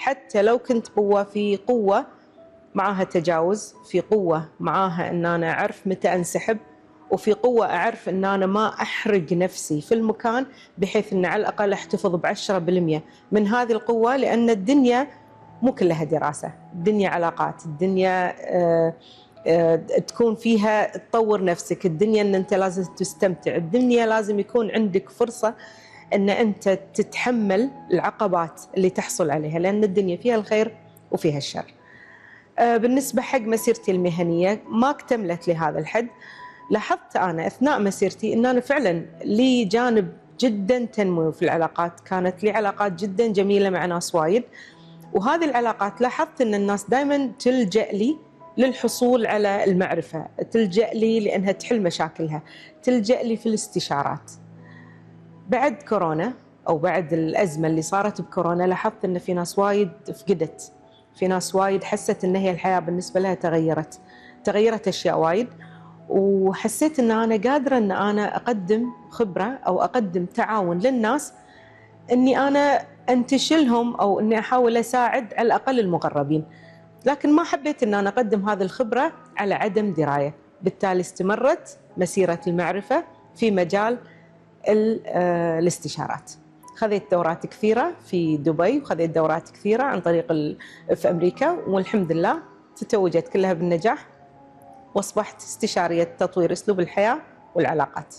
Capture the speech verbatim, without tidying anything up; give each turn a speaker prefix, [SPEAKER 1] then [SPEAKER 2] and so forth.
[SPEAKER 1] حتى لو كنت قوة، في قوة معاها تجاوز، في قوة معاها ان انا اعرف متى انسحب، وفي قوة اعرف ان انا ما احرق نفسي في المكان، بحيث ان على الاقل احتفظ بعشرة بالمئة من هذه القوة. لان الدنيا مو كلها دراسة، الدنيا علاقات، الدنيا آه آه تكون فيها تطور نفسك، الدنيا ان انت لازم تستمتع، الدنيا لازم يكون عندك فرصة ان انت تتحمل العقبات اللي تحصل عليها، لان الدنيا فيها الخير وفيها الشر. بالنسبة حق مسيرتي المهنية ما اكتملت لهذا الحد. لاحظت أنا أثناء مسيرتي أن أنا فعلا لي جانب جدا تنمو في العلاقات، كانت لي علاقات جدا جميلة مع ناس وايد، وهذه العلاقات لاحظت أن الناس دائما تلجأ لي للحصول على المعرفة، تلجأ لي لأنها تحل مشاكلها، تلجأ لي في الاستشارات. بعد كورونا أو بعد الأزمة اللي صارت بكورونا لاحظت أن في ناس وايد فقدت، في ناس وايد حست ان هي الحياة بالنسبة لها تغيرت تغيرت اشياء وايد، وحسيت ان انا قادرة ان انا اقدم خبرة او اقدم تعاون للناس، اني انا انتشلهم او اني احاول اساعد على الاقل المغربين. لكن ما حبيت ان انا اقدم هذه الخبرة على عدم دراية، بالتالي استمرت مسيرة المعرفة في مجال الاستشارات. خذيت دورات كثيرة في دبي، وخذيت دورات كثيرة عن طريق في أمريكا، والحمد لله تتوجت كلها بالنجاح، وأصبحت استشارية تطوير أسلوب الحياة والعلاقات.